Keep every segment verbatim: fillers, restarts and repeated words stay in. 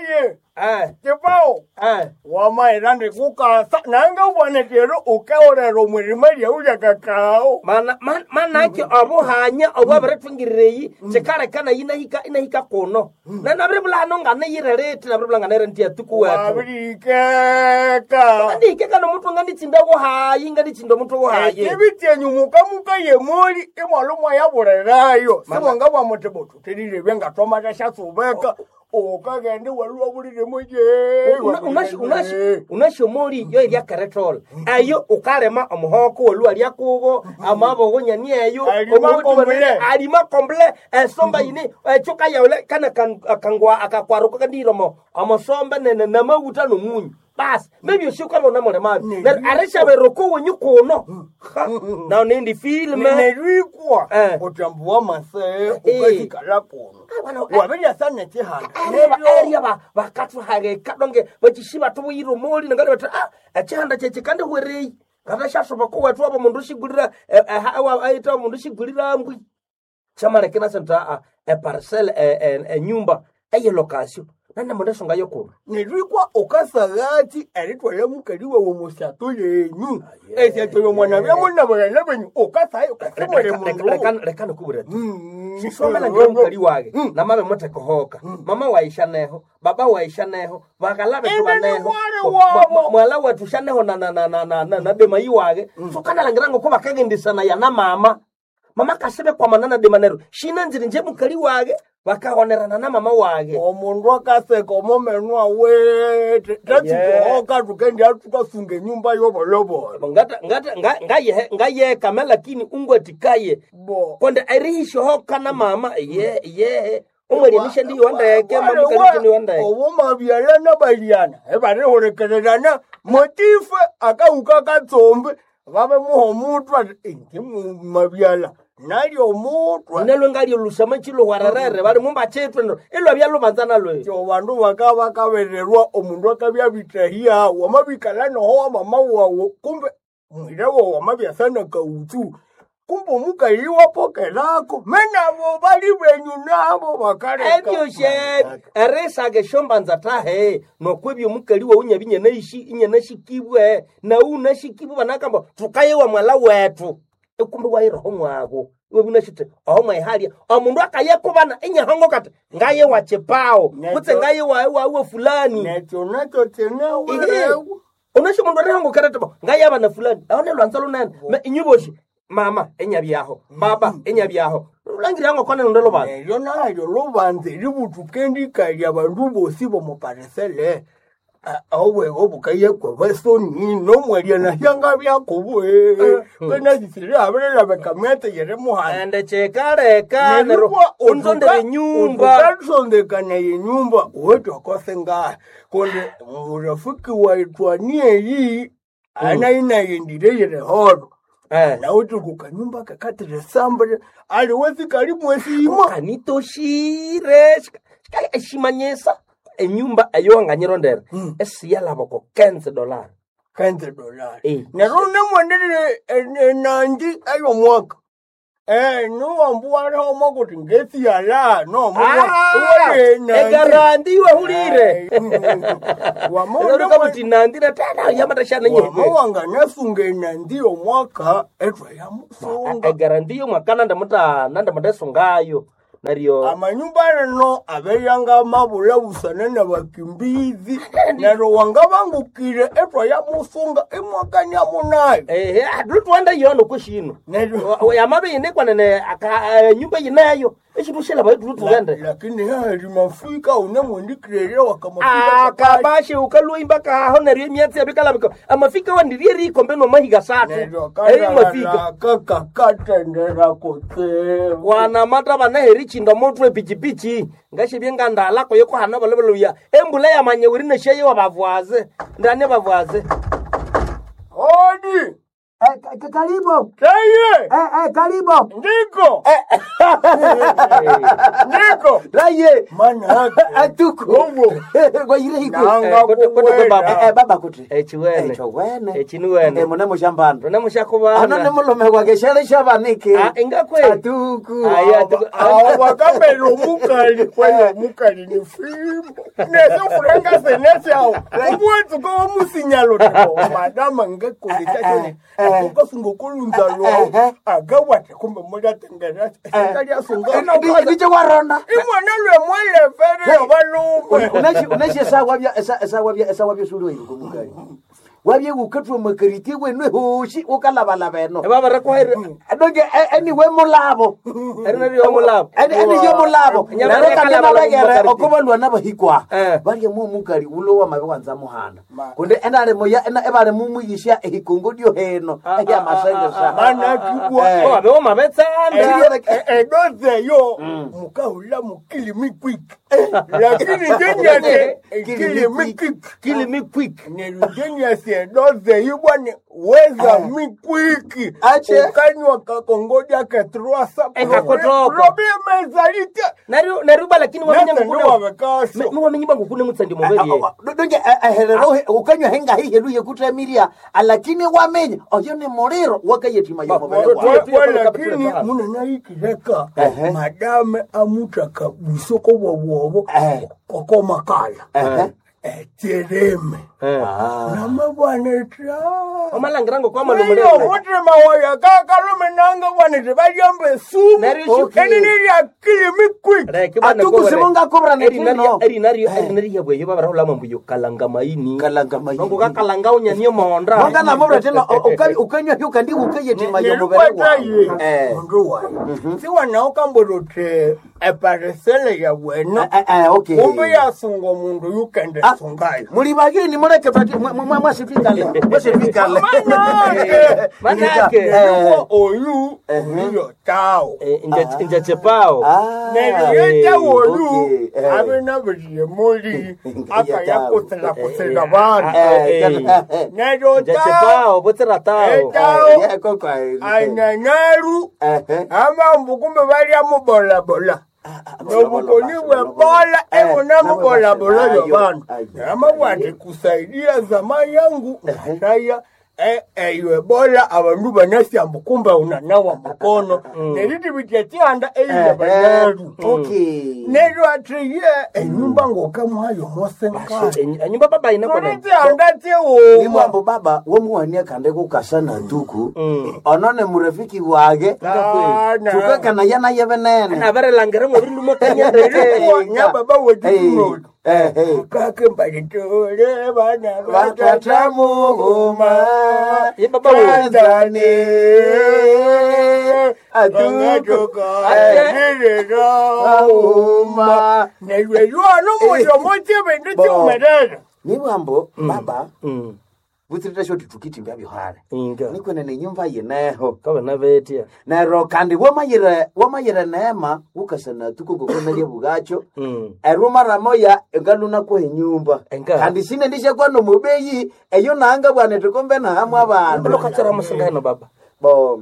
Aye Eh, Chipao eh. wamaira ndikukasa nange ubonekero ukaorera omwirima lyau lya kakao Mana man- manake obuhanya obwabirithungirira eyi kikaleka nayi inahika inahika kuno na nabiribulano nganiyirerete nabiribula nganayirente yatuku wetu wabirikeka ndihike kano omutwe nganditsinda wohayi nganditsinda omutwe wohayi ekibi kyenyu mukamuka yemoli imwalo mwayabulirayo Mana- simwanga bwamuti butu tililebye ngatwamata syatsubeka ukagende waluwa buliremo ye unashomoli yo eryakerethola eyo ukalima omuhoko woluwa lyakubo amaboko nyani eyo Alima omuhutu komble. wene- alima komble esomba yine ekyo kayaule kana kan- akangwa akakwaruka kandiromo omosomba nene namawuta nomunyu basi mebyosi ukaba unamulimabi Ne- neryo erishaberoko wenyu kuno Ha, nawo nindi filime nerikwa Eh. utambu wa masee Eh. ukasikala kuno Ah, wana- eh. wabiryasa nekihanda eria bakathuhageka donge bakishi batubuyira omoli nangali bati ah ekihanda kyekyi kandihwereyi ngata syashoboka wethu waba mundu shigulira aita mundu shigulira mbwi kyamaleka inasenta a eparcel enyumba eyelokasyo nane mundu esonga yokuno nerikwa ukasagati eritwala mukali wawe musyato yenyu esyato yomwana byamunabulana benyu ukasayo ukasimule mundu leka nikubwira tu Mm. sisomela ngira mukali wage Mm. namabe muthekohoka mama waishaneho baba waishaneho bakala bethu Ende ni baneho mwali Mwa- wabo. mwa- mwala wethu shaneho na- na- na- na- na- na- na demayi wage sukanalangira ngoko bakagendisana yana mama mama kasibe kwamana na dema neryo shinanzire nje mukali wage bakahonerana na mama wage omundu akaseka omomenu awete tatsikohoka tukendi tukasunga enyumba yobolobolo ngata ngata nga- ngayehe- ngayekame lakini ungwatikaye bo konde erihishohoka na mama ye yehe omwalyanisha ndiyondeke mamukalichiniwandeke obumabyalana balyana ebarihulikirirana motife akawuka katsombe babe muha omutwe ati inji mumabyala nalyo omutwe nalwe ngalyolusama chiluhwarerere bali mumba chitwe ndo ilwabya lubanza nalwe kyo bandu baka bakabererwa omundu akabya bitahia wamabikala noho wa mama wawu kumbe mwira wawu wamabyasana kautsu kumbe omukali wapokerako menabo bali benyu nabo bakaleka ebyoshe erisaka esyombanza tahe nokwebyo omukali wawu nyabi nyanaishi inyanashikibwe nawu unashikibwe banakamba tukayewa mwala wethu ekumbe wayiroho mwago iwe bunashite oho mwayihalya omundu akayekubana inyahongo kati ngayewa chipawo Nekyo- kutse ngayewa wawe fulani nekyo nakyo kinawerewo unasho mundu arihongokeretebo ngayaba na fulani aho nelwanza lunene Me- inyuboshi mama enyabyaho baba enyabyaho lulangirango kona lunde lubanza neryo nalyo lubanza eributuka endikalya bandu bosi bomuparisele obwego bukayekwa basoni nomwalya nahyanga byakubwe penasisire abirelabeka myatse yeri muhanda ende chikaleka neryo unzondere enyumba ukasondekana yenyumba wetokose ngahe kundi murafiki waitwanieyi anainayendire yerehoro Eh. nauti kukanyumba kakatiresambire aliwesikali mwesima kanitoshire shika- shika- eshimanyisa enyumba eyowanganyirondera esiyalaboko kenze dollar kenze dolari Eh. neryo nemwenderere enanji eyomwaka Eh, nuwambu walihomo kuti ngesiyala Ah, egarandi iwahulire kabuti nandire tena yamatashana nyihwe wamawanganasunga enandi yomwaka etwa yamusunga egaranti yomwaka nandamuta nandamutesungayo neryo amanyumba rino abeyanga mabula busana nabakimbizi neryo wangabangukire etwa yamusunga imwaka nyamunayo ehe atulitwanda yono kweshino neryo yamabe yinekwanene aka- eh, nyumba yineyo eshitushela tulutugende lakini hali mafika unemwendikirere wakamafika akabashe ukalwimba kaho neryo emyatsi yabikalabika amafika wandirie rikombe nomahiga satu neryo eyo mafika kakakatendera kutsevu wanamata banaheri chinda motwe pichipichi ngashebye ngandala koyo kohana baloboloya embula yamanyeweri neshaye wabavwaze ndane bavwaze odi Eh, ka- ka- karibu Taye eh, eh, karibu ndiko ndiko raye manake atuku Owo. wayire hiko Nanga Eh, kote- kote kuwena. baba. Eh, eh, baba kuti Echiwene. echiwene Echinuwene. Eh, mune mushambano Rona mushakubana. ano ni mulume gwake shele shabanike Ah, ingakwe. atuku Ayi, atuku. awo wakambela omukali kweyo omukali ni fimbo nesofuranga senesyawo omwetsuka womusinyalo tipo madama ngakolesachone ukasunga okolunza lwawo akawata kumbe mulatengera ekalyasunga ndicho warona imwana lwemwelefere balume uneshe esawa byosuli wayiruka omukali wabye wukatwa makariti wenu hoshi ukalabalaba eno Baba rakwahera. donge eniwe mulabo Erina ryo mulabo. Eni- eni yo mulabo Nyama nero kandi yakalabala nabegere mumakariti. okobalwa nabahikwa Eh. balye mu mukali ulo wamabe wanza muhanda Ma- kundi enali moya ena ebali mumwigisha ehikongo dyo heno Ah, ah, eyamasengesa mana kibwa Eh. Oh, abe mabetsanda. edozeyo mukahula mukilimi quick lakini njenyase kilimi quick Kill me quick. neryo edoze yibwane weza mikwiki Ache. ukanywa kakongoja ketrwasa Ekakotoko. probimezalite Nari nari lakini wamenya nese ngukune. ndiwabekasho Mi wamenye bangu kune mutsandi muberi. donge eherero ukanywa henga hiheluye kutamiria alakini wamenya oyo ni muliro wakayetima Ba- yomubere ba- wawe Tuye- tuye- lakini tuye- munanayikileka Ehe. madame amuthaka busoko bwobwobo Eh. kokomakala Ehe. etereme Eh. namabwaneta Omalangira ngo kwa Iyo malumulele. mutima wayo kakalume nanga bwanete balyamba esumu Neryo Okay. enini lyakili mikwiki Reke bana Atuku simungakobra netino. Erinari erinari yabwe yo babara hulama mbuyo kalanga maini. Kalanga maini. Nongo kakalanga unyaniyo monda. mwangana mubura tena ukanywa hyo kandi ukayetima yomubere nelikwataye wawe Eh. mundu wayo siwanawukambula eparisele ya wena Eh, eh, okay. kumbe yasunga omundu yukende Ah, sungayo muli bageni muleke twati mwasitwikale mwasitwikale Manake. Manake. Neryo oyu oyo tawo Inja chepao. neryo yetawo oyu okay, eh. abe nabiriye muli Nga akayakusela kusela bandu neryo Inja tawo chepao botsera tao. Eta- anyanyaru amambu kumbe balya mubolabola nobukoni bwe bola ebona mubolabola yobantu amabwati kusaidia zama yangu ngataya eyo ebola abandu banasyambu kumbe unanawa mukono neriti bitya kyanda eyiya banyaru neryo athiye enyumba ngokamwayo mosenkani Enyumba baba ina kona. tulitihanda tiwuma nimwambo baba womuwania kande kukasa na tuku ono ni murafiki wage tukakana yana yevenene Nabarelangira ngo bindu mokanyendeke. nyababa wetu Eh, eh. kake mbalitole bana Batata muhuma Ye baba wo. Tanzania Atuku Auma Nibwambo baba Mm. butsirira shoti tukitimbya byohale Inga. nikwene nenyumba yineho Kabana betia. nero kandi wamayire wamayire neema wukasana tuku ngokomelye bugacho Mm. eruma ramoya engaluna kuha enyumba Enga. kandi sine ndishakwa nomubeyi eyo nanga bwane tukumbe nahamwe abandu Lokatsera musingano baba. bo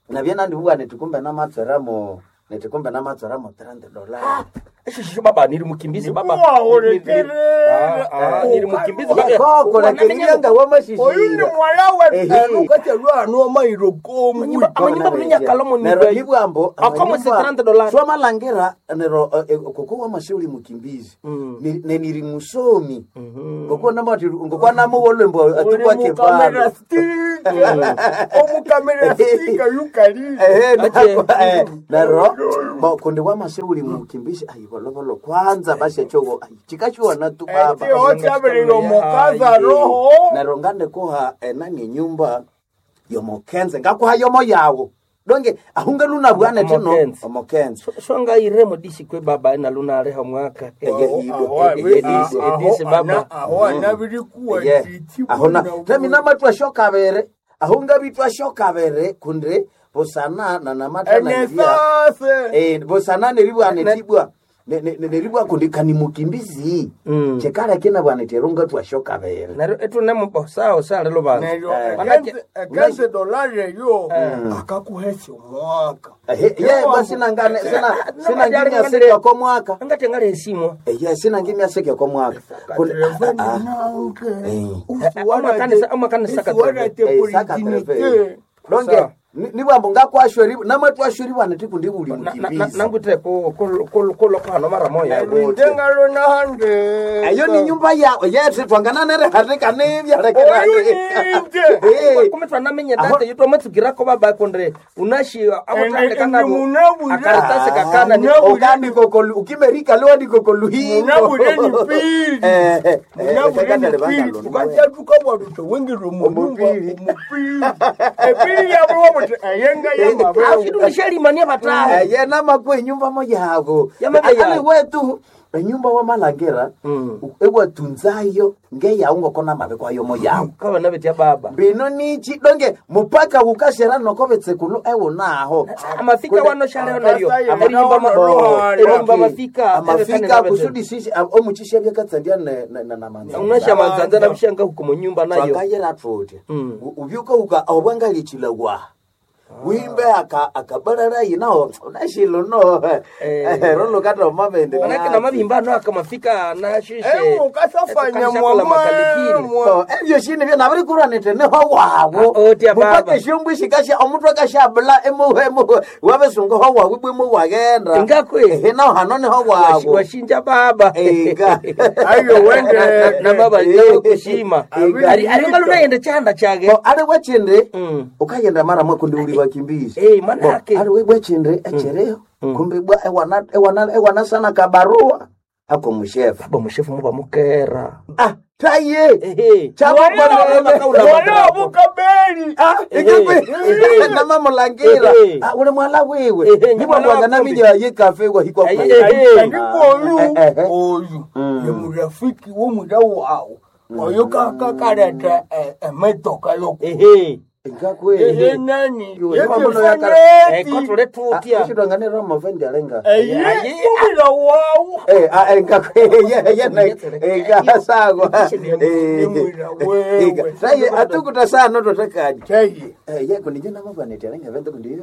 nabye nandibugha nitikumbe namatsweramo nitikumbe namatsweramo three dollars Eshisho baba niri mukimbizi baba. Nikuwahulekerera. Ah, ah, niri mukimbizi baba. koko lakerianga oyu ni wamashisira mwala Ehe. wetu amairo komwi Amanyumba bulinyakalomo ni nero bei. nibwambo Akomo se thirty dollars. swamalhangira nero eh, eh, koko wamasi uli mukimbizi Mm. Ni- neniri musomi ngokwa namuwolwembo uli atukwake mukamera pano stika omukamera stika yukali Ehe, Ache. nako, eh, nero bo kundi wamasi uli mukimbizi ayivolovolo kwanza bashachowo chikachiwana tu baba otyabilile omukaza roho nero ngandikuha enani enyumba yomokenze ngakuha yomo yawo donge ahunga bwana tino Omokenze. omokenze Shonga iremo dishikwe baba nalunaleha mwaka. Eye, Aho- Edisi- aho- edisi baba. aho anabirikuwa Ye. titi ahona buna- tamina matwa shokavere ahunga bitwa shokavere kundi busana na namatana enesase eh busana neribwana tibwa neribwa kundi kani mukimbizi Mm. chekaleke bwana terunga twashoka bere Neryo ithune sawa sali lubanza. Neryo Manake- ekenze dolari eyo akakuhesya omwaka. Ehe, ye basinangane sina sinangimya seka ko mwaka Angati ngale esimwa. ye sinangimya seka ko mwaka Kundi- ah, ah, Amakanisa- amakanisa eh, saka treve. Donge Sawa. ni- nibwambo ngakwashweri namatwashweri bwana tikundi buli Na- na- na- mukimbizi Nangwithe ku ku ku kulo mara moya. Ndengalo nahande. eyo ni nyumba yawe yethu twangananere hatika nibya Oyu ninje. Kumbe twanamenye data yitwa matsukirako baba kondre unashi Ende- ende munabwire. akaratasi kakana ni Munabwire. ukandikokolu ukimerika liwandikokoluhiko Munabwire ni pili. Munabwire ni pili. Tukatya tukabwa wengire omunyumba Omupili. omupili. Epili yabo wabuti eyenga yamabewu. afidunishalimania batahe ye namakwe enyumba moyabo Yamabe yago. ali wetu enyumba wamalangira ewatunzayo ngeyawu ngoko namabe kwayo moyawo kabana betya baba bino nichi donge mupaka wukashera nokobetsekulu ewunaho amafika wano shaleo neryo Akasaya erinyumba ma- Ruhara. erinyumba mafika amafika kusudi sisi omuchisha byakatsandia namanza unasha manzanza nabishanga huko munyumba nayo twakayera tutya Mm. ubyuka uka obwangalichila wa wimbe aka akabarara yinaho unashilo no Eh. rolo kata omabende manake namabimba ano akamafika nashishe Emukasafanya mwamwa. ebyo shini byo nabirikuranite niho wawo Ah, otya baba. mupaka esyombwa shikasha omutwe akashabula emuhu emuhu wabesunga ho wawu ibwe muwagenda Ngakwe. ehe naho hano niho wawo washinja baba Ega. Ayo wende. na baba nakushima Ega. ari ari ngalo nayende chanda chage Bo, ali wechindi Mm. ukayenda mara mwakundi uli wakimbizi Eh, manake. Bo, ali wechindi echereho kumbe bwa ewana ewana ewana sana kabarua ako mushefu baba mushefu muba mukera ah taye ehe Wala bukabeli. Ah, ikikwi namamulangira Ehe. Ah, uli mwala wiwe Ehe, nibwabwaga mwala naminya yikafe wahikwa Ehe. Ehe. Andiko oyu Eh, eh. oyu ni murafiki w'omwira wawu oyo kakakaleta emetoka yoku ehe ngakwe ehe nani Yo, eh kotule tutya ishidwanganira mavende alenga eye omwira wawu Eh, ah, eh, ngakwe ye ye na eh sawa eh Nimwira wewe. saye atukuta sana totekani teye eh ye kundi jina mabane terenga vende kundi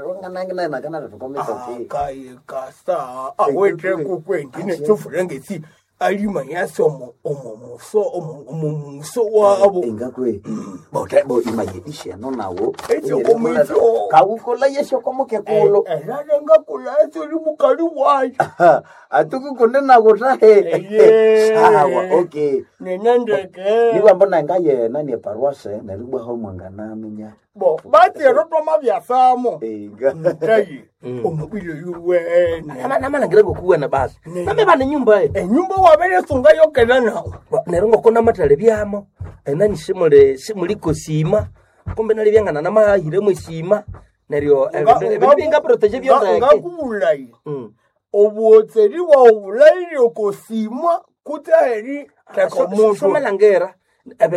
ronga nange na nakana tukomesa ti akaye kasa awete kukwendi nechofurengesi alima yasomo omo muso omo muso wabo ingakwe bo bo imayedisha no nawo Ekyo komito. kawukola yesho komuke kulo erarenga kulaso ri mukali wayo atukukunde nakutahe Eye. sawa okay nenendeke nikwamba nangayena nieparuase neribwaho mwanganaminya bo batero twama byasamo inga taye omubili yuwene namalangira ngokuwena basi name bane nyumba e enyumba waberesunga yokela nawo neryo ngoko namatale byamo enani simuli simuliko sima kumbe nali byangana namahiremo esima neryo ebindu bingaproteje byondeke ngakubulayi obuhotseri bwawu bulaire okosima kutaheri teka omuntu somalangera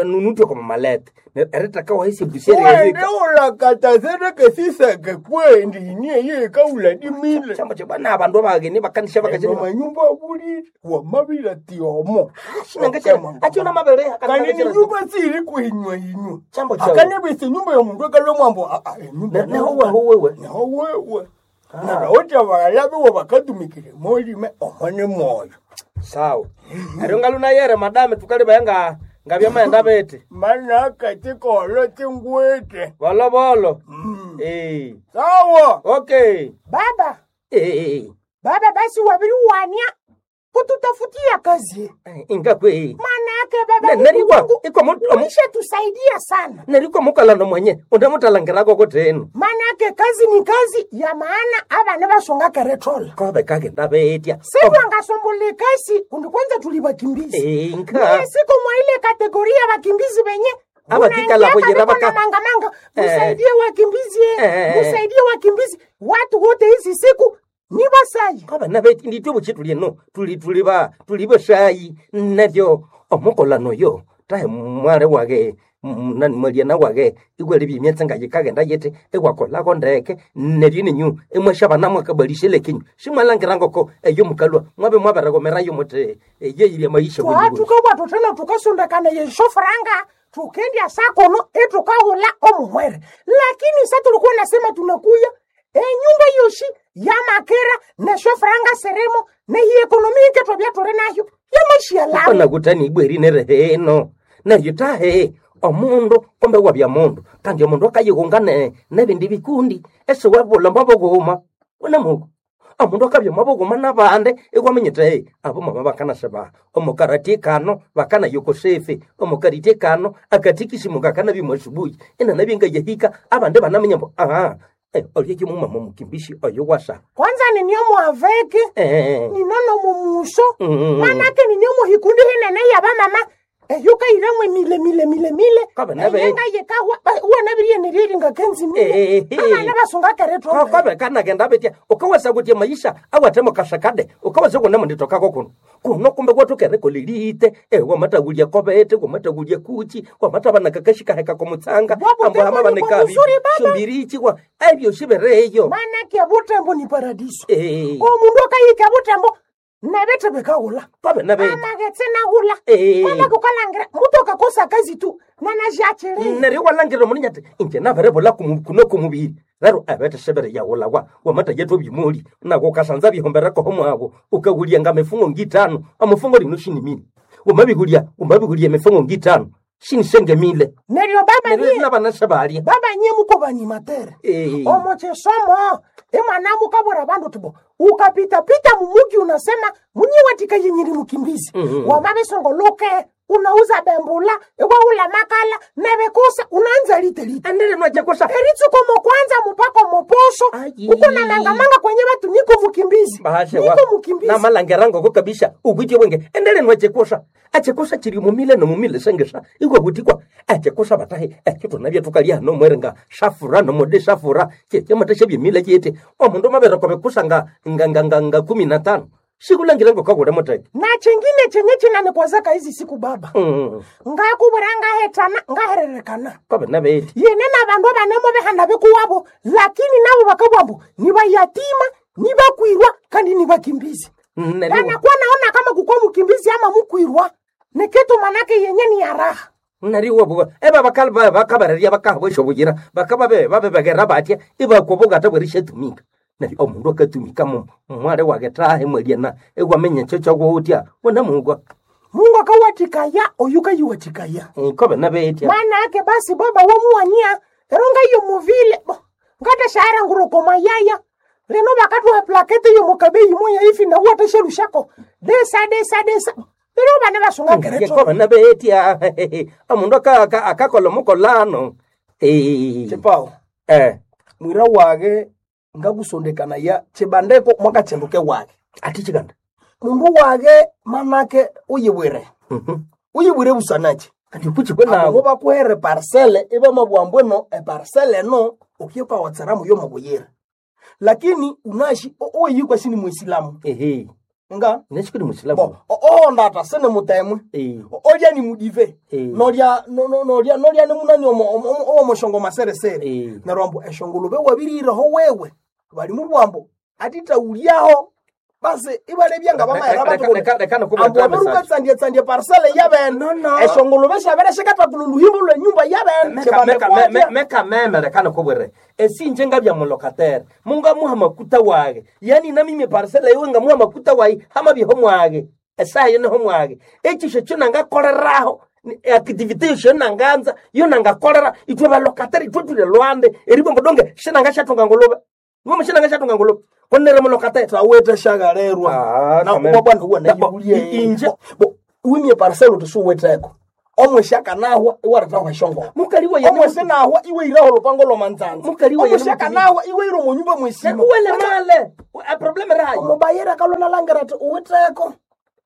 nunutwe kwa mamalete eritaka wahisi busieri wende ulakata sereke siseke kwendi inie yekauladimile chamba che bana abandu abageni bakanisha bakachiri amanyumba abulire wamabila tiomo achiona mabere kandi ni nyumba siri kuhinywa hinywa Chambo chawe. akanebisa enyumba yomundu ekalwe mwambo aa enyumba neho wewe neho wewe narawotya balala biwo bakatumikire molime omo ni mwoyo sawa eryo ngalunayere madame tukaliba nga ngabyamaenda bete manaka tikolo tingwete bolobolo eh sawa okay Baba, eh baba basi wabiriwania kututafutia kazi. ingakwe Manake baba Ne- nerikwa Mungu iko mu- omu- ulishatusaidia sana. nerikwa mukalano mwenye undemutalangirako kutenu Manake kazi ni kazi ya maana abana basonga keretola. kobe kagenda betya Sitwangasombole kasi kundi kwanza tulibakimbizi. inka Mie siko mwa ile kategoria ya bakimbizi benye Abakikala unaingiaka kujira biko na baka- mangamanga Eh. musaidie wakimbizi Eh. musaidie wakimbizi watu wote hizi siku ni basayi kobe nabeti nditwe buchi tuli eno tuli tuli ba tuli bashayi neryo omukolano yo tahe mwale wage nani mwalia nawage iwalebya emyatsi ngayikagenda yiti iwakolako ndeke neryo ninyu imwashabana mwakabalisha kinyu simwalangira ngoko eyo mukalwa mwabe mwaberegomerayo muthi eyeyirya maisha Twatuka bwathu tukasundakana yeshofranga tukendya sakono etukahula omuhwere lakini sa tulikuwa nasema tunakuya enyumba yoshi yamakera neshofranga seremo nehi ekonomi iketwabya tuli nayo yamashialamo panakutani ibweri nereheno neryo tahe omundu kumbe wabya mundu kandi omundu akayihunga ne nebindi bikundi esiwabula mwabughuma unamuku omundu akabya mwabughuma nabandi iwaminyite "Hey, abo mama bakanaseba omukarati kano bakanayokosefe omukariti kano akatikisimu kakanabya mwasubuhi inanabya ngayahika abandi banaminya mbu aha eh, olyeki mumama mukimbishi oyo wasa kwanza niniomuaveke eh, ninono mumuso Mm. manake niniomuhikundi hinene yabamama eyukairemwe mile mile mile mile Kabe nabe- eyenga yekahwa uwanabiriyeneryelinga kenzi mile Eh, eh, eh. abana basunga keretwa kobe kanagenda betya ukawasa kuti maisha awatemo kasakade ukawasa kuna munditokako kuno kuno kumbe kwatukerekolelite e wamatagulia kobete wamatagulia kuchi wamatabana kakashikaheka komutsanga Bwabu ambo hama tembo ni banekabi buzuri baba. shumbirichi kwa ebyo shibereyo manake butembo ni paradiso Eh. omundu akayika butembo nabete bekahula kobe nabe amagetse nahula Eh. manake ukalangira mutu akakosa kazi tu nanazhachilile neryo walangira omundu nyati inje naberebola kuno kumubiri rero ebete shebere yawulawa wamata yethu byimuli nako kasanza bihombereko mwabo ukagulia nga mifungo ngitano amufungo lino shinimini wamabigulia wamabigulia mifungo ngitano shinishengemile neryo baba neryo nye nabana sebalya baba nye muko banyimatere Eh. omo chisomo imwana mukabura bandu tibo ukapitapita mumuki unasema munyiwatika yenyiri mukimbizi mm -hmm. wamabisongoluke unauza bembula iwaula makala nevekusa unaanza litelite endele nwachekosa eritsukomo kwanza mupako moposho Ayi. uko na mangamanga kwenye batu niko mukimbizi bahashe niko mukimbizi namalangira ngoko kabisa ubwitye bwenge endele nwachekosa achekosa chiri mumile nomumile sengesa ikwabutikwa achekosa batahe ekyo tunabya tukalya nomwere nga safura nomode safura chechemateshe byemile chete omundu mabereko bekusa nga nga nga nga, nga kumi na tano sikulangira ngokakule muteke na chengine chenye chinanikwazaka hizi siku baba mm. ngakubura ngahetana ngahererekana kwabe nabeti yene na bandu abanemo behanda bekuwabo lakini nabo bakabwambo ni bayatima ni bakwirwa kandi ni bakimbizi Neryo- banakuwa naona kama kukua mukimbizi ama mukwirwa ni kitu manake yenye ni ya raha nari wabuga eba bakali ba bakabareria bakahabwesha obugira bakaba be babebegera batya ibakobogata bwerishatumika nari omundu akatumika mu mwale wagetahe mweliana ewamenya ekyo kyogwoutya wona mugwa mungu akawatikaya oyu kayiwatikaya kobe nabetya manake basi baba womuwania eronga iyo muvile bo ngata shara nguroko mayaya lino bakatuha plakete iyo mukabeyi moya ifi na uwateshelushako desa desa desa lero bana basunga kereto kobe nabetya omundu aka- aka- akakola omukolano Eh, Chipao eh, mwira wage ngakusondekanaya chibandeko mwakachenduke wage ati chikanda mundu wage manake uyibwire uyibwire busanachi ati kuchikwe abo nawo bakuhere parcele ibamabwambweno eparcele eno ukiyukawatseramu yomubuyira lakini unashi oyikwa sini muisilamu ehe nga neshikuli musilamu bo ohondata sini mutemwe Eh. olya ni mudive Eh. nolya no- no- nolya nolya ni munani omo- omo- omo- owomoshongo maseresere Eh. neryo ambu eshongolube wabirireho wewe bali mubwambo atitaulyaho basi ibalebya nga Leka- leka- leka- leka nokubwetera message. bamaerabatsandiatsandia parsele yabene No, no. eshongolube shabere shikatakula oluhimbo lwenyumba yabene Meka- mekameme lekana kobwere esinje ngabya mulokatere mungamuha makuta wage yani namimi parcela iwe ngamuha makuta wayi hamabyeho mwage esayo niho mwage ekisho kyo nangakoleraho ni- activity yosho nanganza yo nangakolera itwe balokatere itwe tuli lwande eribombo donge shinangashatunga nguluve ngomo shinangashatunga nguluve konere mulokatere tawete shakalerwa Ah, na kameme. kuba bwana huwa Bo, nayiulie i- inje- bo wimye parcel utisuweteko omwe shakanahwa iwaretahwa eshongolo mukali wa omwe sinahwa iwe iraho lupango lwamanzanza Mukali wa omwe yene shakanahwa iwe iro munyumba mwesima uwele male probleme rayo omubayera kalona langira ati uwiteko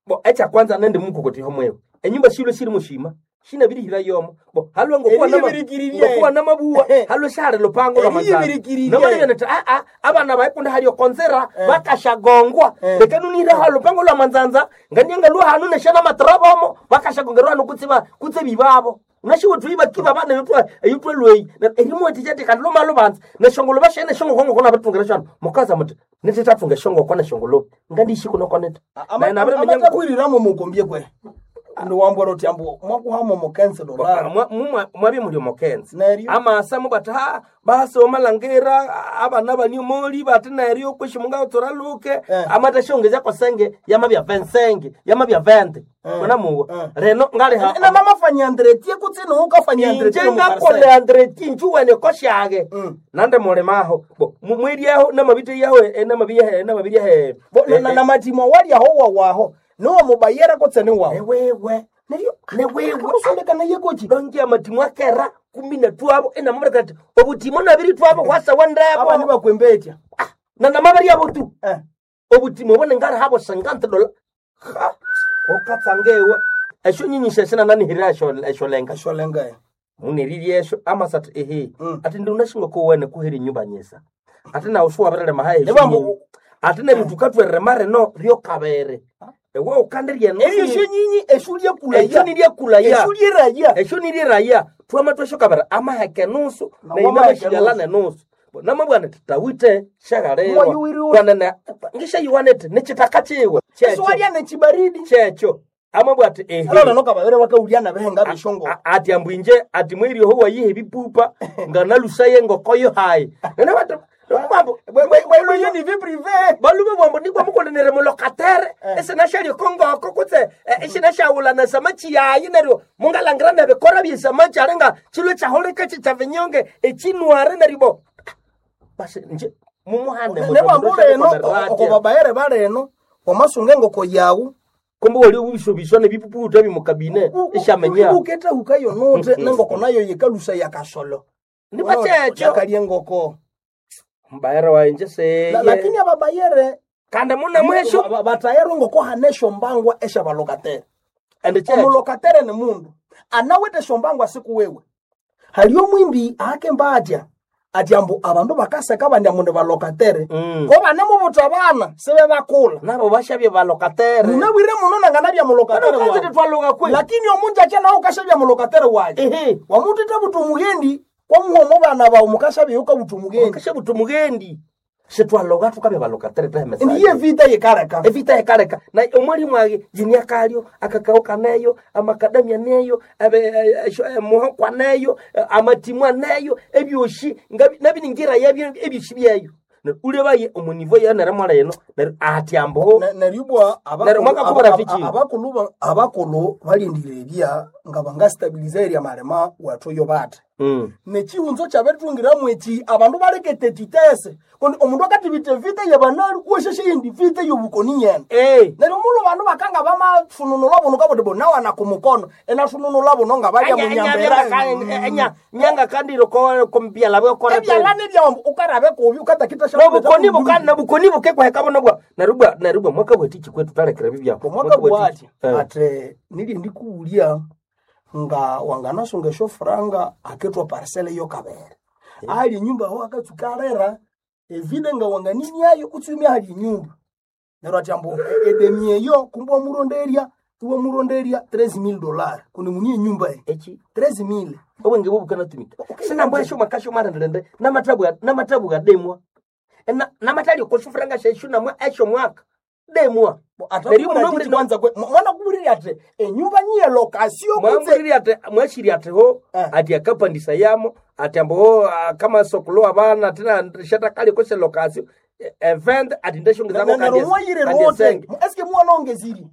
bo echa kwanza nende mukokotiho mwewe enyumba shilo shili mushima Shinabirihira yomo. Bo halwe ngokuwa nama Eriyibirikiririe. ngokuwa namabuwa halwe shahali lupango lwa manzanza. Eriyibirikiririe. Namalibya nti a a abana baikunda hali okonzera bakashagongwa. Leka nunira hali lupango lwa manzanza nganianga lwa hanu neshana matrabomo bakashagongerwa hanu kutsiba kutse bibabo. Unashiwe tuiba kiba bana yutwa yutwa lweyi. Erimu etijati kandi loma lubanza neshongolo bashene shongo kongo kona batungira shano. Mukaza muti nititatunga shongo kona shongolo. Ngandishiko nokoneta. Na nabere menyango amatakwiriramu mukombie kwe ndiwambwera uti ambu mwakuhamo mukense dolari mwabye muli omukenzi Neryo. amasa mubati ha basi omalangira abana baniomoli bati neryo kwishi mungatsora luke Eh. amata shongeza kosenge yamabya vensenge yamabya vente kona muwa Eh. reno ngaliha na mamafanyandretie kutsini ukafanyandretie inje ngakole andreti njuwene koshage Mm. nande mulimaho bo mu- mwiryaho namabite yaho enamabiyahe enamabiyahe na matimo walyaho wawaho niwo mubayera kutsene wawo newewe neryo newewe kusondekana yekochi dongi amatimu akera kumi na twabo enamabireka ati obutimo nabiri twabo hwasawa abani ndebo bakwembetya na namabiri abo tu Eh. obutimo bone ngari habo sangante dola Ha! okatsangewe esho nyinyisha shina nanihirira esho esho lenga esholenga muneririe esho amasati ehe Mm. ati ndi unashinga kowene kuheri nyumba nyesa ati nawe suwabirele mahaya esho Nebambu- nyinyi. ati neryo tukatwerere mareno ryokabere ewe ukandirye eryo esho nyinyi esho esho lyekulaya niryekulaya esho lyeraya esho nirye twama tweshokabera amaheke nusu Na nainamashigala wamaheke nenusu namabwana titawite shagalelwa Mwayuwiriwe. kwanene ngishayiwanete nichitaka chiwe esho walya nechibaridi checho amabwa ati ehe alona nokababere bakaulya nabehenga beshongo A- ati ambwinje ati mwirioho wayihe ebipupa nganalusaye ngokoyo hayi nene batu bambo bweyo ni vie privé balume bwambo nigwa mukolenere mulokatere esinashalyo kongoko kutse esinashawulana samachi yayi neryo mungalangira nebikora byesamachi alinga chilwe chaholeka chichavinyonge echinware neryo bo basi nje mumuhane nebambu leno okobabayere baleno wamasunga engoko yawu kumbe wali ubishobishwa nebipuputa bimukabine eshamenya uketa hukayo note nengoko nayo yikalusa yakasolo nibachecho yakalya engoko mbayere wainje seye La- lakini ababayere kandi muna mwesho ba- ba- batayere engoko hane esyombangwa esyabalokatera ende checho omulokatere ni mundu anawete esyombangwa siku wewe haliyo mwimbi akemba atya ati ambu abandu bakaseka bandi ambu ni balokatere Mm. ko banemubuta abana sibe bakula nabo bashabye balokatere munabwire muno nanganabya mulokatere Kano wawe twaloga kwe lakini omunju akya nawe ukashabya mulokatere waje ehe wamutete buta omugendi kwamuhoma bana bawe mukashabya ukabuta omugendi kasha butu mugendi sitwaloga tukabya balokatere tahemesa ndiye vita yikareka evita ekaleka na omwalimu age jini akalyo akakao kaneyo amakadamia neyo abe- eh, esho- eh, muhoko aneyo eh, amatimu aneyo ebyoshi ngabi- nabiningira yabyo ebyoshi byeyo Neryo ulebaye omunivo yeneremwala yeno neryo ati ambo Ne- neryo ibwa Neryo mwaka kubura fichi. abakulu ba- abakulu balindire ebya nga bangastabiliza erya malema wethu yo bate Mm. nechihunzo kyabetungiramu eki abandu balekete titese kundi omundu akatibita evita yabanali wesheshe yindi vita yobukoni nyene Eh. neryo mulo bandu bakanga bamafununula buno kabuti bunawana kumukono enafununula buno nga balya munyambera nyanga kandiro kombyala bwekora ebyalani byawambu ukarabe kubi ukatakita nobukoni bukana bukoni bukekwaheka buno bwa neryo neryo bwa mwaka bwetiki kwetu talekera bibyako omwaka bwati Eh. ate nili ndikuwulya nga wanganasunga eshofuranga aketwa parcele yokabere ali enyumba aho akatsuka alera evide nga wanganiniayo kutsumia hali enyumba neryo ati ambu e- edemi eyo kumbe wamuronderya iwamuronderya treze mille dollars kundi muni enyumba eyi echi treze mille obwenge bwo bukanatumika sinambwa esho makasho marenderende namatabu namatabu gademwa Ena- namatali okosufuranga sheshu namwa esho mwaka demwa Neryo muno muri- kwanza kwe mwana kuburira ati enyumba nyiye lokasio kutse mwamburiri ati mwashiri atiho Eh. ati akapandisa yamo ati ambo ah, kama sokolo abana tina shatakali kose lokasio event ati ndeshongezako neryo mwayire rote eske mwanongeziri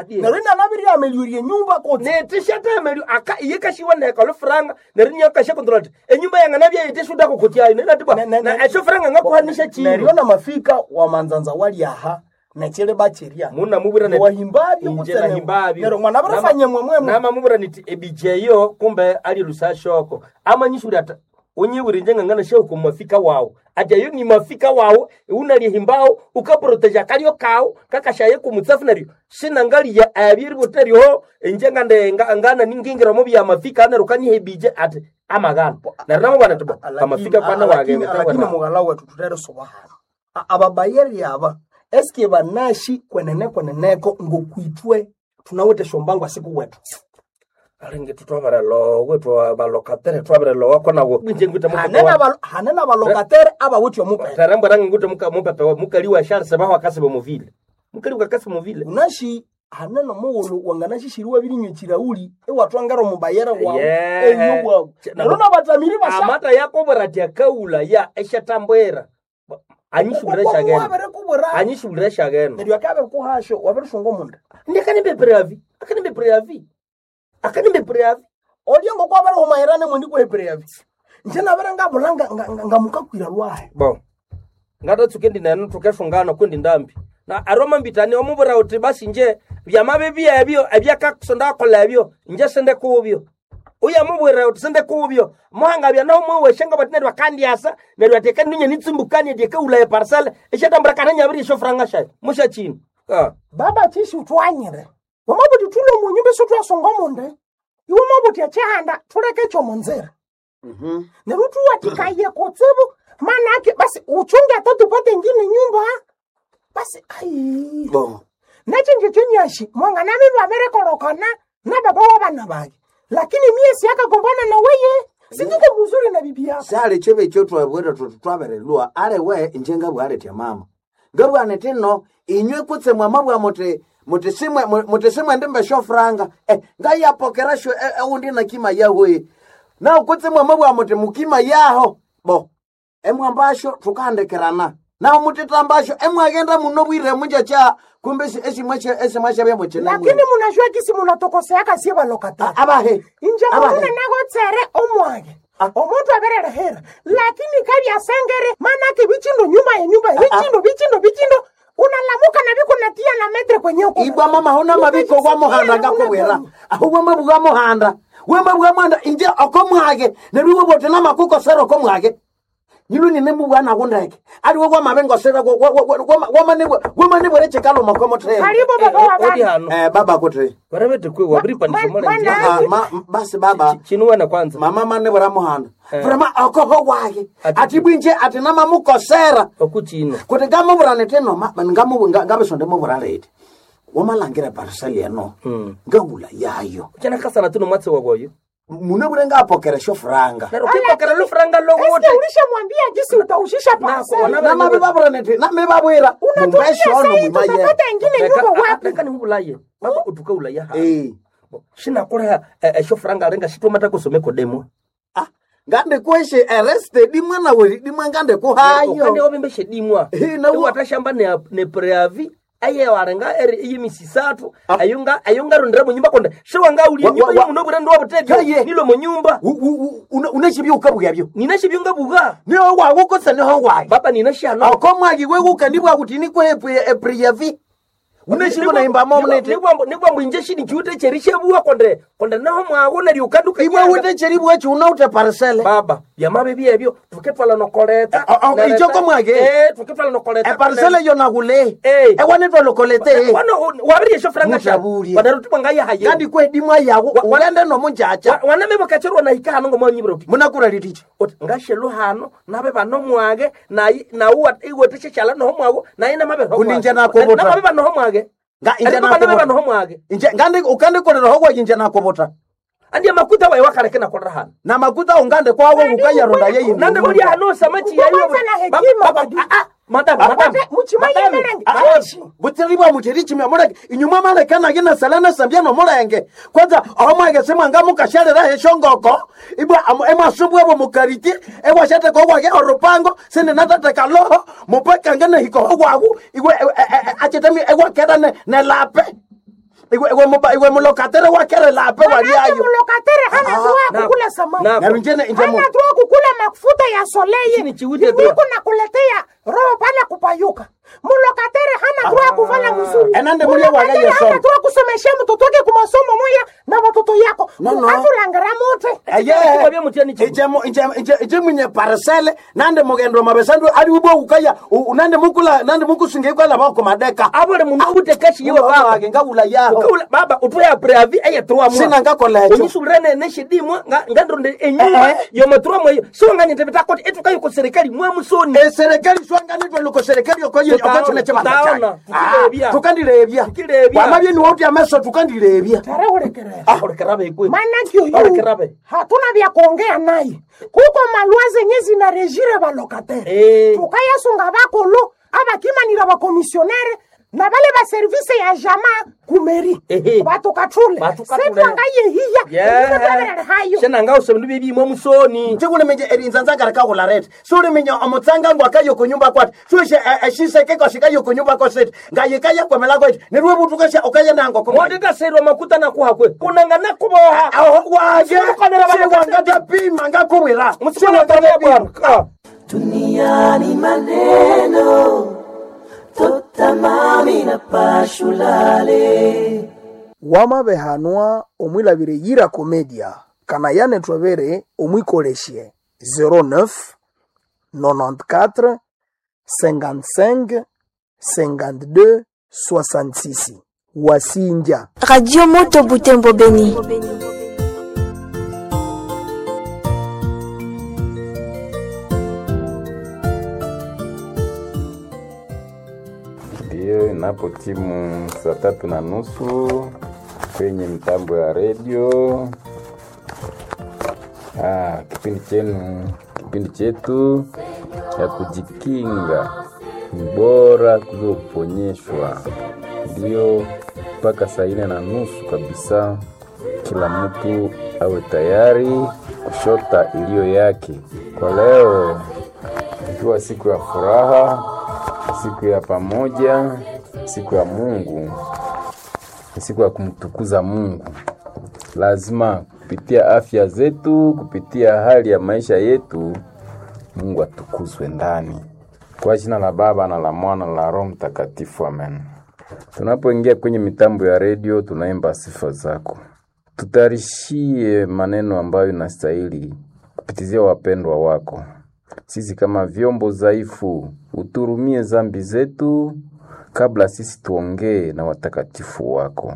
neryo inanabirira ameliorie enyumba kutse netishatemelio aka iye kashiwa nekalo franga neryo nyakasha kontrola ati enyumba yanga nabya yeteshuda kukutyayo nenatibwa Ne- ne- ne- esho franga ngakuhanisha neryo chiro namafika wamanzanza walyaha nechile bacherya muna mubira neti- wahimbabyo Inje nahimbabyo. neryo mwana barafanye mwemwemwe namamubwira niti ebijeyo kumbe ali lusashoko amanyishuri ati Unyibwira inje ngangana shehu mafika wawu. Ati ayo ni mafika wawu, unalihimbawo, ukaproteja kalyo kawu, kakashaye kumutsafu neryo. Shinangaliya abyeri buteryo, inje ngande nga- ngana ningingira mu bya mafika neryo kanyihebije ati amagana. Neryo namubana ati bo, amafika kwana wage lakini mughala wetu tuthere soba hano ababayeri aba eske banashi kwenene kweneneko ngokwitwe tunawete shombango asiku wetu Alinge tutwabarelo, twabalokatere twabarelo kona wo. Inje ngwita hanene mupepe. abalo- hanene abalokatere abawithe omupere Tarambwa rangi ngwita muka mupepe wa mukali wa Charles baho akasiba muvile. Mukali wa akasiba muvile. unashi hanene omughulhu wanganashishiriwa birinywa ekirauli iwatwangera omubayere wawu Yeah. eyo bwawu Ch- neryo nabathamiri basha Amata yakobora ati akaula ya eshatambwera. Anyishulira shagena. wabirikubwira Anyishulira shagena. neryo akabikuhasho wabirishunga omunda Ndi akanimbe preavi. Akanimbe preavi. Akanimbe preavi. olyo ngokwabirihumayirane mwendi kuhepereyavi nje nabere ngabula nga- nga- nga- ngamukakwira lwahe Bo. Ngatatsuke ndi nenu tukeshungana kundi ndambi. Na aroma mbitani omubura uti basi nje byamabe byebyo ebyakakusonda akola ebyo nje sende kubyo. Uya mubwira uti sende kubyo. Muhanga bya naho mwe weshenga bati neryo akandiasa neryo ateka ninye nitsumbukani ateka ulaye parcel eshatambura kana nyabiri shofranga shayo. Musha chini. Ah. Baba chishi utwanyire. Wamabuti tulo munyumba sutwasonga omunde. Iwe mabuti echihanda tuleke ekyo munzira. Neryo tuwatikaye kutsibu manake basi uchunge hata tupate ingine nyumba. Basi ai. Bo. Nechinje chenyashi mwanganami baberekorokana na baba wabana bake. Lakini mie siakagombana na weye. Situko mzuri na bibi yako. Sali chebe ekyo twabwera tuti twaberelwa ale inje ngabwaletya mama ngabwana tino inywe kutse mwama bwa muti muti simwe muti simwe ndimbe shofranga eh ngayapokera sho eundi na kima yawe na kutse mwama bwa muti mukima yaho bo emwambasho tukandekerana na mutitambasho emwagenda muno bwire munja cha kumbe esimwe esimwe shabya muchina Lakini munajua kisi munatokoseaka sie balokatari. abahe Inje abahe munune nagotsere omwage. Omuntu abererehera. Lakini kabyasengere manake bichindo nyuma ya nyumba bichindo bichindo bichindo unalamuka na biko natia na metre kwenye uko. Ibwa mama hona mabiko gwa muhanda ngakubwira ahubwo mabwa muhanda we mabwa muhanda inje okomwage nerwo bote namakukosera okomwage nyilu nine mubwana kundeke aliwe kwa mabengosera wamanebwere chikalo makomotere Karibu baba wa Odi bana. hano. eh baba kuti Barabete kwe wabiripandisha Ma- mara mana- Ah, ma, basi baba Chinuwana kwanza. mama manebwera muhanda Eh. vrema okoho wake Ati- ati bwinje ati namamukosera Okuchino. kuti ngamuvurane teno ngabisonde muvura leti wamalangira pariseli eno ngawula yayo Chana kasana tuno mwatse wagoyo. munebure ngapokera shofuranga Neryo kipokera lufranga lowote. Eske ulishamwambia jinsi utaushisha parcel? wana- namabe babura nti name babwira Unatuambia mumbeshono sasa hii mumaye tutapata ingine nyumba wapi? Reka nihubulaye. Baba utuka ulaya ha. Eh. Shinakoleha eshofranga arenga shitomata kusomeko demo. Ah, ngande kweshe arrested mwana we dimwe ngande Ukande kuhayo wabembeshe dimwa. Eh, na wo- Watashamba ne ne preavi aye warenga eri iyimisisatu ayunga ayunga rondera mu nyumba konde shiwanga uli Wa- nyumba wa- wa- yomuno burendo wabutetyo Kaye. nilo mu nyumba uneshibyo ukabuya byo ninashibyunga buga niho wawukotsa niho wayo baba ninashano okomwagi wewuka ndibwa kuti nikwe epriyavi uneshiko naimbamo mnete nikwambo inje shini chiute cherishebuwa konde konde naho mwago neryo ukanduka iwe ute cheribwa chiunaute parisele baba byamabe byebyo tuketwala nokoleta Eh, oh, oh, Nereta- icho komwage? eh tuketwala nokoleta eparisele yonakule Eh. ewanetwalokolete wano wabiriye shofranga Mutabulye. wanarutima ngayahaye ngandikwe dimwa yawo Wa- wa- ugende nomunjacha waname bakacherwa nahika hano ngomwanyibira uti munakura liticha uti ngashelu hano nabe bano mwage nayi nawu iweteshe chala noho mwago nayi namabe noho Kundi mwage. nje nakobota. namabe banoho mwage Nga inje Ariko banabe nakobota. banoho mwage Inje ngandi ukandikolera hokwa inje nakobota andi makuta waye wakaleke nakolera hano na makuta ungande kwawo ukayaronda yeyi nande muri hano samachi Uko yayo kwanza na hekima, badu. madam madam Muchimaye merenge. Ashi. butsiribwa muteri chimya muleke inyuma malekanage nasalana sambya nomulenge kwanza omwenge simwanga mukashalera heshongoko ibwa emwasubwebo mukariti ewashateka owake orupango sindi natateka loho mupekange nehikoho wawu iwe achetemi ewakera ne- nelape iwe iwe muba- iwe mulokatere wakere lape Manake waliayo mulokatere hana Ah, droit na- kukula samaki. na- Neryo njene inje mu- Hana droit kukula mafuta ya soleil. Chini chiwite Niko droit. nakuletea Roho pale kupayuka. Mulocataire hana droit ya kuvala mzuri. Enande mulia waga Mulocataire hana yesomo. droit ya kusomesha mtoto wake kumasomo moya na watoto yako. No, no. Mukatulangara mote. Kwabya mutya ni chibu. Ije mwenye parcele nande mugendo mabesandu ali ubwo ukaya u- nande mukula nande mukusinga ikwala bako madeka Abole mundu ute kashi yewe baba. wage ngawula yaho Ukaula baba utuya preavi eye trois mois. Sina ngakola ekyo. Onyisulirane neshidimwa nga ngandronde enyumba Eh, eh. yoma trois mois. So nganyete bitakoti etukayo ku serikali mwe musoni. eserikali swanganitwe luko serikali okoye Tutaona, okotune chibanda tutaona, tukirebya. tukandirebya Tukirebya. wamabye niwe uti ameso tukandirebya Tareurekerera. Ah, olekerabe ikwe. Manake oyu Olekerabe. hatuna vya kuongea naye. Kuko malwa zenye zinarejire balocataire. Eh. Tukayasunga bakolo abakimanira bakomisionere na bale ba service ya jama kumeri. Ehe. Batukatule. Batukatule. Setwangayehiya. Yeah. Hayo. Shenanga usebindu byebimwe musoni. chikuliminje erinzanzangara kahularete suliminye omutsanga ngwakayo kunyumba kwati suishe eshiseke kwashikayo kunyumba kwasete ngayikaya kwemela kweti niriwe butukesha ukayenango Modetaserwa makuta nakuhakwe. Kunanga nakuboha. waje Simukanira siwangatapima ngakubwira Musikana tabia bwana. Duniani maneno totamami na pashulale Wamabehanwa omwilabire yira komedia kana yanetwabere omwikolesye zero neuf nonante-quatre cinquante-cinq cinquante-deux soixante-six wasinja. Radio Moto Butembo Beni. Ndiyo, inapo timu saa tatu na nusu kwenye mitambo ya redio. Ah, kipindi chenu, kipindi chetu cha kujikinga ni bora kuliko kuponyeshwa. Ndiyo, mpaka saa nne na nusu kabisa, kila mtu awe tayari kushota iliyo yake kwa leo, ikiwa siku ya furaha, siku ya pamoja, siku ya Mungu, ni siku ya kumtukuza Mungu. Lazima kupitia afya zetu, kupitia hali ya maisha yetu, Mungu atukuzwe ndani. Kwa jina la Baba na la Mwana na la Roho Mtakatifu, amen. Tunapoingia kwenye mitambo ya redio, tunaimba sifa zako. Tutayarishie maneno ambayo inastahili kupitizia wapendwa wako. Sisi kama vyombo dhaifu, uturumie zambi zetu kabla sisi tuongee na watakatifu wako.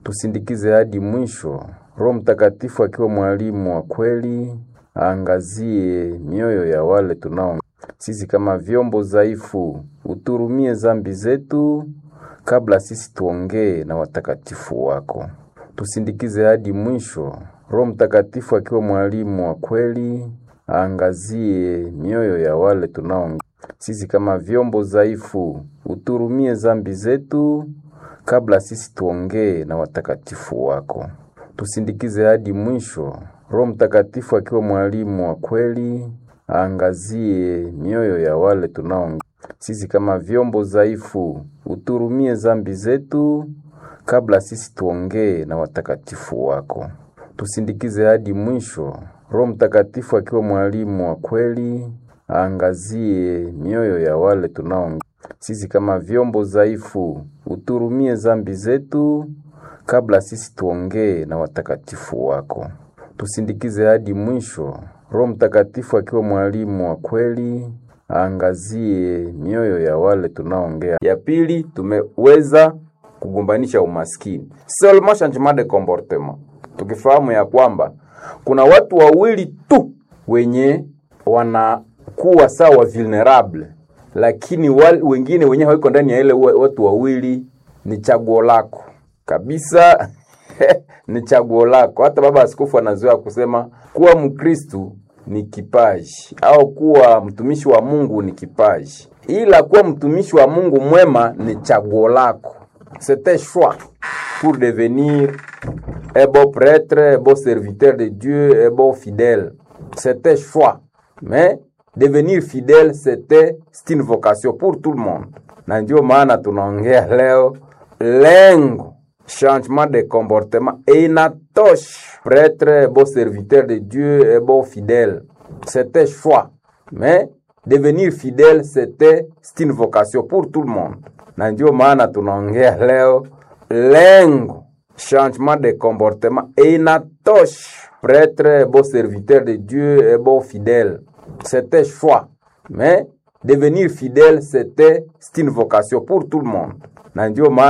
Tusindikize hadi mwisho. Roho Mtakatifu akiwa mwalimu wa kweli, aangazie mioyo ya wale tunao. Sisi kama vyombo dhaifu, uturumie zambi zetu kabla sisi tuongee na watakatifu wako. Tusindikize hadi mwisho. Roho Mtakatifu akiwa mwalimu wa kweli, aangazie mioyo ya wale tunao. Sisi kama vyombo dhaifu, uturumie zambi zetu kabla sisi tuongee na watakatifu wako. Tusindikize hadi mwisho. Roho Mtakatifu akiwa mwalimu wa kweli, aangazie mioyo ya wale tunao. Sisi kama vyombo dhaifu, uturumie zambi zetu kabla sisi tuongee na watakatifu wako. Tusindikize hadi mwisho. Roho Mtakatifu akiwa mwalimu wa kweli, aangazie mioyo ya wale tunao. Sisi kama vyombo dhaifu, uturumie zambi zetu kabla sisi tuongee na watakatifu wako. Tusindikize hadi mwisho. Roho Mtakatifu akiwa mwalimu wa kweli, aangazie mioyo ya wale tunaongea. Ya pili, tumeweza kugombanisha umaskini, seulement changement de comportement, tukifahamu ya kwamba kuna watu wawili tu wenye wanakuwa sawa vulnerable, lakini wal, wengine wenye hawiko ndani ya ile wa- watu wawili ni chaguo lako kabisa. Ni chaguo lako. Hata baba askofu anazoea kusema kuwa Mkristu ni kipaji au kuwa mtumishi wa Mungu ni kipaji, ila kuwa mtumishi wa Mungu mwema ni chaguo lako. C'est un choix pour devenir un bon prêtre, un bon serviteur de Dieu, un bon fidèle. C'est un choix. Mais devenir fidèle, c'était c'est une vocation pour tout le monde. Na ndio maana tunaongea leo lengo changement de comportement et inatosha. Prêtre, bon serviteur de Dieu, un bon fidèle. C'est un choix. Mais Devenir fidèle, c'était c'est une vocation pour tout le monde. Na ndio maana tunaongea leo lengo changement de comportement et inatosha prêtre bon serviteur de Dieu et bon fidèle. C'était choix. Mais devenir fidèle, c'était c'est une vocation pour tout le monde. Na ndio maana